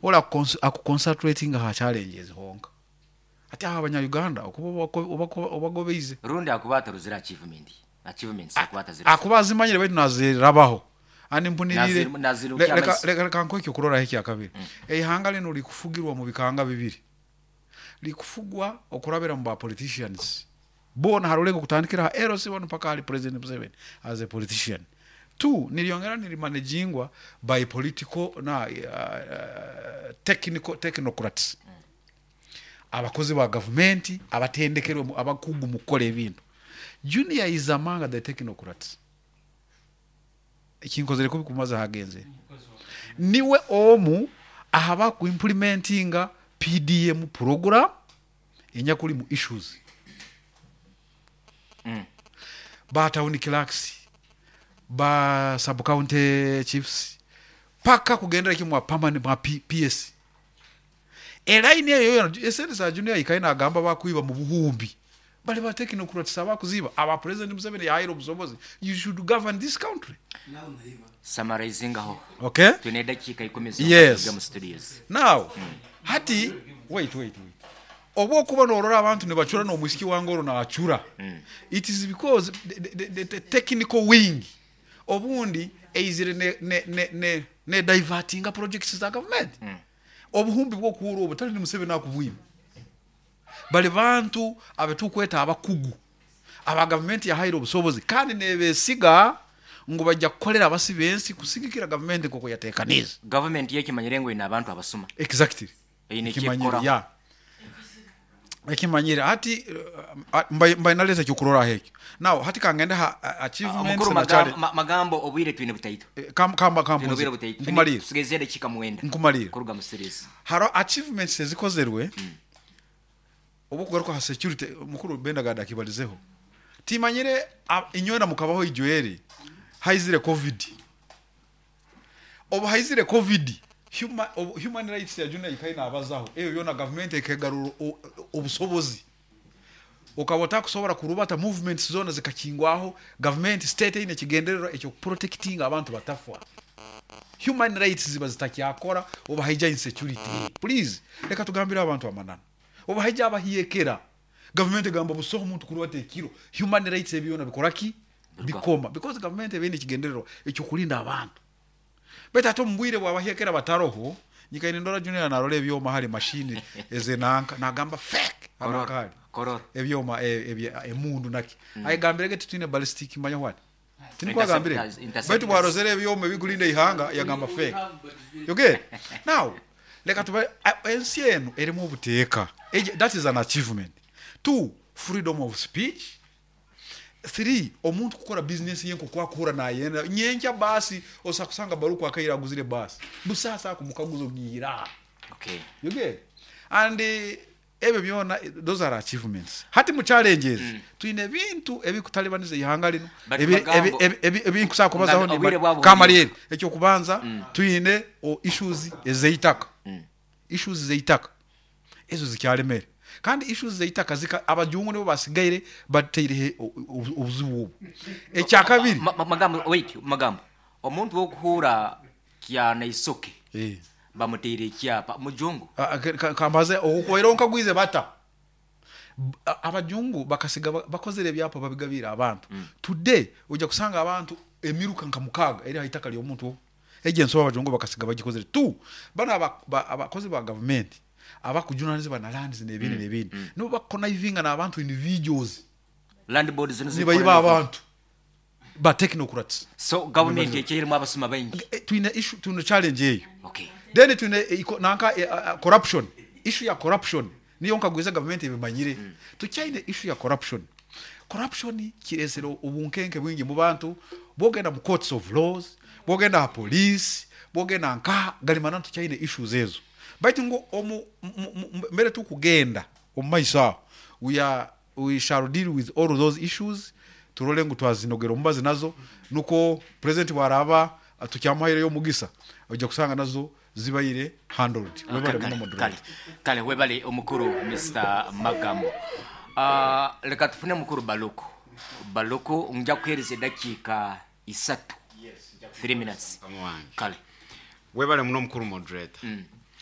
Ori aku concentratinga aha challenges honka. Hati aho abanya Uganda okuba obagobeize. Rundi akuba atarozire achievement ye, achievements akuba atazirozire. Akuba azimanyire baitu nazirabaho. And mpuniriire, leka nkuhe ekyokuroraho ekyakabiri. Eihanga linu rikufugirwa omu bikanga bibiri. Rikufugwa okurabira omu ba politicians boona ha rurengo kutandikira aha LC one mpaka ahari President Museveni as a politician. Two, niryongera nirimanegingwa by political na technical technocrats. Abakozi ba gavumenti abatendekerwe abakugu mu kukora ebintu. Junior is among the technocrats. Ekinkozire kubi kumaze ahagenzere. Niwe omu aha baku implementinga PDM program enyakurimu issues. Ba town clerks, ba sub county chiefs paka kugendera kimwe mwa permanent mwa PS. Eline eyo yoona esente za Junior ahikayo nagamba bakwiba mu buhumbi bari ba technocrats abakuziiba aba president Museveni yahaire obusobozi you should govern this country. Summarizingaho. Okay. Twine edakiika ikumi zonka turuge omu studios. Now hati wait wait wait obu okuba norora abantu nibacura nomwisiki wange oru nacura it is because the, the, the technical wing obundi eizire ne ne ne ne ne divertinga projects za government. Obuhumbi bw'okuhurra obu tari ni Museveni akubwine. Bari bantu abu turikweta abakugu aba gavumenti yahaire obusobozi kandi neebesiga ngu baija kukorera abasi b'ensi kusigikira gavumenti nk'oku yateekaniize. Gavumenti yo ekimanyire ngu eine abantu abasuma. Exactly. Eine eki Ekimanyire, erikukoraho. yeah. Ekimanyire. Hati mbaire mbaire naleeta ekyokurorraho ekyo. Now hati kangende ha achievements Mukuru na challenge. Magambo obwire twine butaito. Kam, kam, Twine kampunze. obwire butaito. Twine Nkumalire. tusigaize edakiika mwenda Nkumalire. kuruga mu series. Hariho achievements ezikozerwe obu okugaruka aha security mukuru Bendagard akibarizeho. Timanyire inywena mukabaho ijo eri haizire covid. Obu haizire covid, human rights ya Junior ikayo nabazaho ebyo byona gavumenti ekegarura obusobozi. Okaba otakusobora kurubata movements zona zikakingwaho, gavumenti state eine ekigendererwa ekyoku protectinga abantu batafwa. Human rights ziba zitakyakora obu haija insecurity. Please leka tugambire abantu amananu. Obu haija abahyekera, gavumenti egamba busaho muntu kurubata ekiro, human rights ebyo byona bikora ki? Bikoma because gavumenti eba eine ekigendererwa ekyokurinda abantu. Baitu hati omu bwire bw'abahyekera bataroho, nyikaire nindora Junior narora ebyoma hali machine ezenanka nagamba fake hananka hali ebyoma emundu naki ayegambirege titwine ballistic manya what tinikwo agambire baitu bwarozere ebyoma ebikurinda eihanga yagamba fake you get now leka tuba ensi enu erimu obuteeka that is an achievement two freedom of speech Three, omuntu kukora bizinesi ye nk'oku akuhurra nayenda. Nyenkya baasi osobola kusanga Baruku akaire aguzire baasi. Busaho asobola kumukaguza ogiihire aha. Okay. You get? And ebyo byona those are achievements. Hati mu challenges, twine ebintu ebikutalibaniza eihanga linu But ebi Magambo, ebi ebi ebi nkusobola kubazaho Ngambi, obwire nimba bwaba kamarire. buhweire. Eky'okubanza twine issues ez'eitaka. Issues z'eitaka ezo zikyaremere kandi issues z'eitaka zika abajungu nibo basigaire bataireho obuzibu obu. Ekyakabiri. Magambo, wait, Magambo, omuntu w'okuhuura Kyanaisoke bamuteire ekyapa, mujungu? Kambaze, okwaireho nkagwize bata? Abajungu bakasiga bakozire ebyapa babigabiire abantu. Today oija kusanga abantu emiruka nka mukaaga eri aha itaka ry'omuntu ogu. Egyo ensobi abajungu bakasiga bagikozire. Two, banu abakozi ba gavumenti abakujunanizibwa na lands n'ebindi n'ebindi nibo bakukonaivinga n'abantu individuals Land board zino nibaiba zirikukora abantu ba technocrats. So gavumenti ekyairimu abasuma baingi. Twine issue, twine challenge eyo. Okay. Then twine nanka corruption, issue ya corruption niyo nkagwiza gavumenti ebimanyire. Tukyaine issue ya corruption. Corruption kiresire obunkenke bwingi mu bantu, bwogenda mu courts of laws, bwogenda aha police, bwogenda nkaha, gari mananu tukyaine issues ezo. Baitu ngu omu mbere tukugenda omu maiso aho, we are we shall deal with all those issues turole ngu twazinogera omubazi nazo nukwo president bwaraba tukyamuhaireyo omugisa oija kusanga nazo zibaire handled. Webale muno Kale, moderator. kale webale omukuru Mister Magambo. Leka tufune mukuru Baluku. Baluku ngya kuhereza edakiika isatu, 3 minutes. Mukama wange. Kale. Webale muno mukuru moderator.